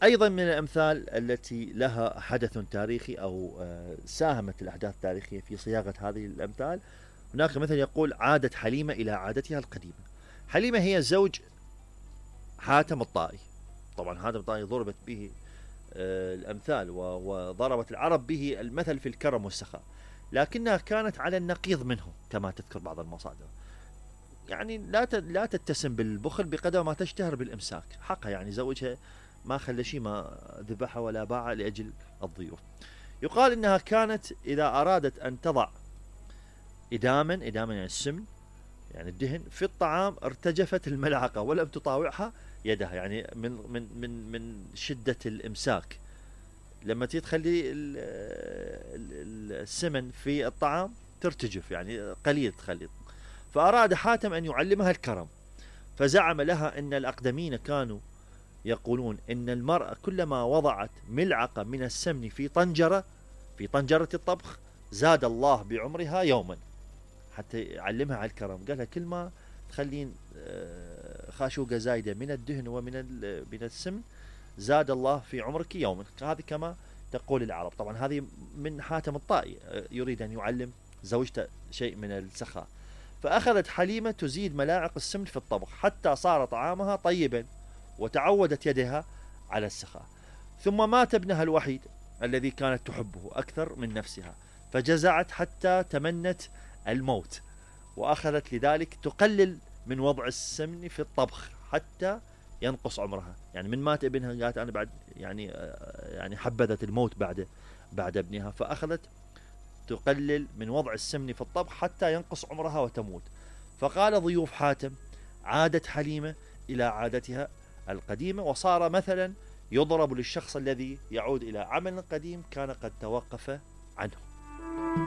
أيضا من الأمثال التي لها حدث تاريخي أو ساهمت الأحداث التاريخية في صياغة هذه الأمثال. هناك مثل يقول: عادت حليمة إلى عادتها القديمة. حليمة هي زوج حاتم الطائي. طبعا حاتم الطائي ضربت به الأمثال وضربت العرب به المثل في الكرم والسخاء، لكنها كانت على النقيض منه كما تذكر بعض المصادر. يعني لا تتسم بالبخل بقدر ما تشتهر بالإمساك. حقها يعني زوجها ما خلى شيء، ما ذبحها ولا باعها لأجل الضيوف. يقال إنها كانت إذا أرادت أن تضع إداما يعني السمن، يعني الدهن في الطعام، ارتجفت الملعقة ولم تطاوعها يدها، يعني من شدة الإمساك. لما تخلي السمن في الطعام ترتجف، يعني قليل تخلي. فأراد حاتم أن يعلمها الكرم، فزعم لها أن الأقدمين كانوا يقولون إن المرأة كلما وضعت ملعقة من السمن في طنجرة الطبخ زاد الله بعمرها يوما. حتى يعلمها على الكرم، قالها كل ما تخلين خاشوقة زايدة من الدهن من السمن زاد الله في عمرك يوما. هذه كما تقول العرب. طبعا هذه من حاتم الطائي، يريد أن يعلم زوجته شيء من السخاء. فأخذت حليمة تزيد ملاعق السمن في الطبخ حتى صار طعامها طيبا، وتعودت يدها على السخاء. ثم مات ابنها الوحيد الذي كانت تحبه أكثر من نفسها، فجزعت حتى تمنت الموت، وأخذت لذلك تقلل من وضع السمن في الطبخ حتى ينقص عمرها. يعني من مات ابنها قالت أنا بعد يعني حبذت الموت بعد ابنها، فأخذت تقلل من وضع السمن في الطبخ حتى ينقص عمرها وتموت. فقال ضيوف حاتم: عادت حليمة إلى عادتها القديمة، وصار مثلا يضرب للشخص الذي يعود إلى عمل قديم كان قد توقف عنه.